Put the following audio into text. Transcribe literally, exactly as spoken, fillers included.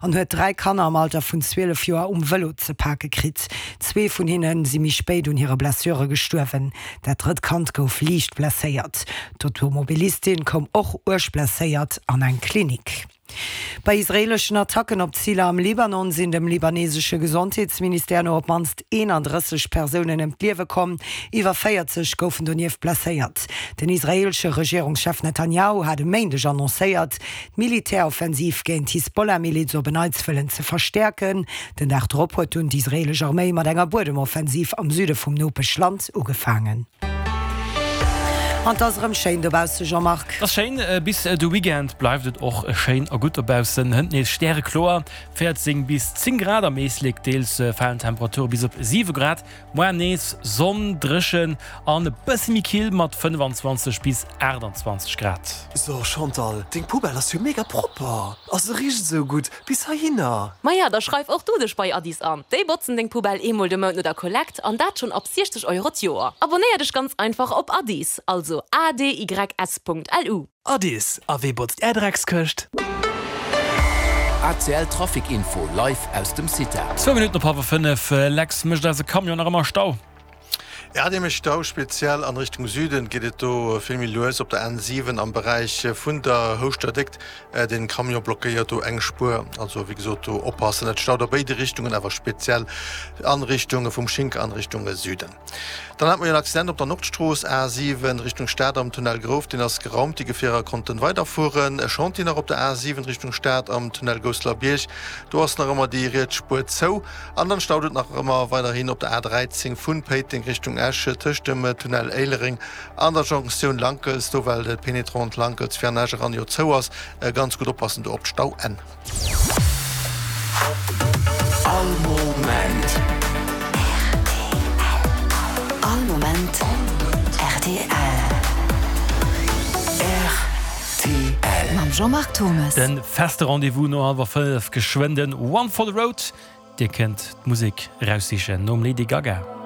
an huet dräi Kanner am Alter vun zwielef Joer um Vëlo ze pake kritt. Zwee vun hinne si méi spéit un hire Blessure gestuerwen. Dat drëtt Kand gouf liicht blesséiert. D'Automobilistin koum och uerg blesséiert an eng Klinik. Bei israeeleschen Attacken op Ziler am Libanon sinn dem libanesesche Gesondheetsministère no op d'mannst eenandrësseg Persounen ëm d'Liewe komm, iwwer véierzeg goufen donieft blesséiert. Den israeelesche Regierungschef Netanjahu hat e Méindeg annoncéiert, d'Militäroffensiv géint d'Hisbollah-Miliz op en Neits wëllen ze verstäerken. Den Dag drop huet dunn d'israeelesch Arméi mat enger Buedemoffensiv am Süde vum Nopeschland ugefaangen. An 't ass erëm schéin dobausse, Jean-Marc. 't ass schéin, bis de Weekend bleift et och schéin a gutt dobaussen. Hënt nees stärekloer, véierzéng bis zéng Grad am Éislek, deels falen d'Temperature bis op siwe Grad. Moar nees Sonn, dréchen an e bësse méi kill mat fënnefanzwanzeg bis aachtanzwanzeg Grad. So Chantal, deng Poubelle ass jo mega propper a se richt esou gutt bis heihinner. Maja, da schreif och du dech bei Addis an. Déi botzen deng Poubelle eemol de Mount no der Kollekt an dat schonn ab siechzeg Euro d'Joer. Abonnéier dech ganz einfach op Addis, also A D Y S punkt L U. Addis, a wee botzt är Dreckskëscht? A C L Trafic Info live aus dem CITA. Zwou Minutten op hallwer fënnef, Lex, mécht eise Camion nach ëmmer Stau? Ja, dee mécht Stau, speziell an Richtung Süden geet et do vill méi lues op der N siwen am Beräich vun der Houschter Déckt. Den Camion blockéiert do eng Spuer, also wéi gesot do oppassen. Et staut a béide Richtungen, awer speziell an Richtung vum Schinker an Richtung Süden. Dann hat mer jo en Accident op der Nordstrooss, A siwen Richtung Stad am Tunnel Grouft, deen ass geraumt, déi Gefierer konnten weiderfueren. E Chantier nach op der A siwen Richtung Stad am Tunnel Gousselerbierg, do ass nach ëmmer déi riets Spuer zou. An dann staut et nach ëmmer weiderhin op der A dräizéng vun Péiteng Richtung Esch tëscht dem Tunnel Éilereng an der Jonktioun Lankels, do well d'Pénétrante Lankels fir an Esch eran jo zou ass. Ganz gutt oppassen do op d'Stauenn. All Moment. All Moment rtl. Rtl. Mam Jean-Marc Thomes. De feste Rendez-vous no hallwer fënnef, geschwënn den One for the Road. Dir kënnt d'Musek eraussichen nom Lady Gaga.